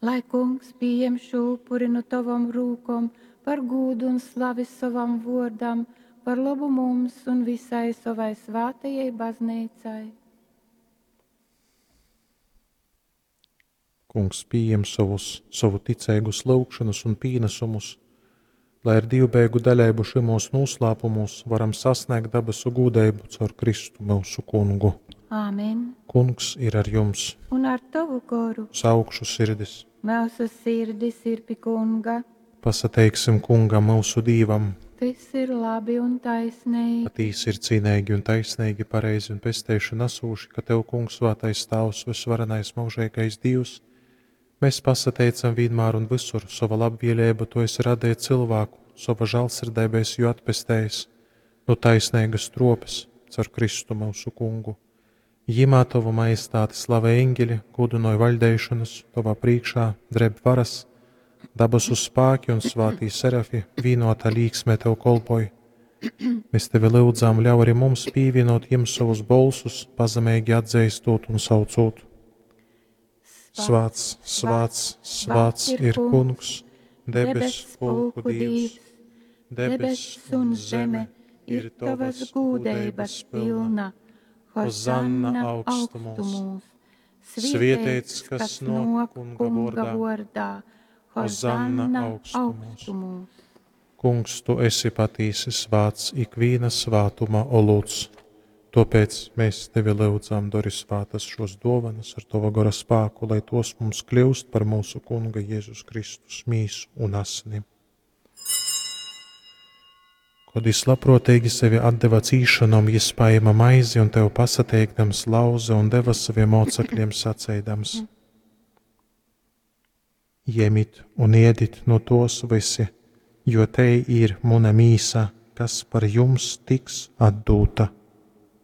Lai Kungs pījem šo upuri nu tovom rūkom par gūdu un slavi sovam vōrdam, par lobu mums un visai sovai svātajai bazneicai. Kungs pījem sovus, sovu ticeigus lyugšonas un pīnesumus, lai ar dīvbejīgu daļeibu šymūs nūslāpumūs varam sasnēgt dabasu gūdeibu caur Kristu myusu Kungu. Āmen. Kungs ir ar jums, Un ar tovu goru uz augšu sirdis. Myusu sirdis ir pi Kunga. Pasateiksim Kungam myusu Dīvam. Tys ir labi un taisneigi. Patīsi ir cīneigi un taisneigi, pareizi un pesteišonu asūši, ka Tev, Kungs, svātais Tāvs, vysvarenais mūžīgais Dievs, mēs pasateicam vienmēr un visur, sova labvēlība Tu esi radījis cilvēku, sova žēlsirdība esi jū atpestējis no taisnīgas tropes, caur Kristu mūsu Kungu. Jimā Tavu majestāti slavē eņģeļi, gudinoja vaļdeišanas, Tavā priekšā dreb varas, dabasu spēki un svātī serafi vienotā līksmē Tev kolpoj. Mēs tevi lūdzām, ļauj arī mums pievienot jiem savus bolsus, pazemīgi atzīstot un saucot. Svāts, svāts, svāts ir Kungs, debes pulku Dievs. Debess un zeme ir tavas gūdeibas pilna. Hozanna augstumos. Svietēts, kas nāk Kunga vārdā. Hozanna augstumos. Kungs, tu esi patīsi svāts, ikvīna svātuma olūts. Tāpēc mēs tevi lūdzam, dori svātas šos dāvanas ar tava gara spēku, lai tos mums kļūst par mūsu Kunga Jēzus Kristus mīsu un asinim. Kad jis labprātīgi sevi atdeva cīšanom, jis paēma maizi un tev pasateikdams lauza un deva saviem mocekļiem saceidams: Jemit un ēdit no tos visi, jo te ir muna mīsa, kas par jums tiks atdūta.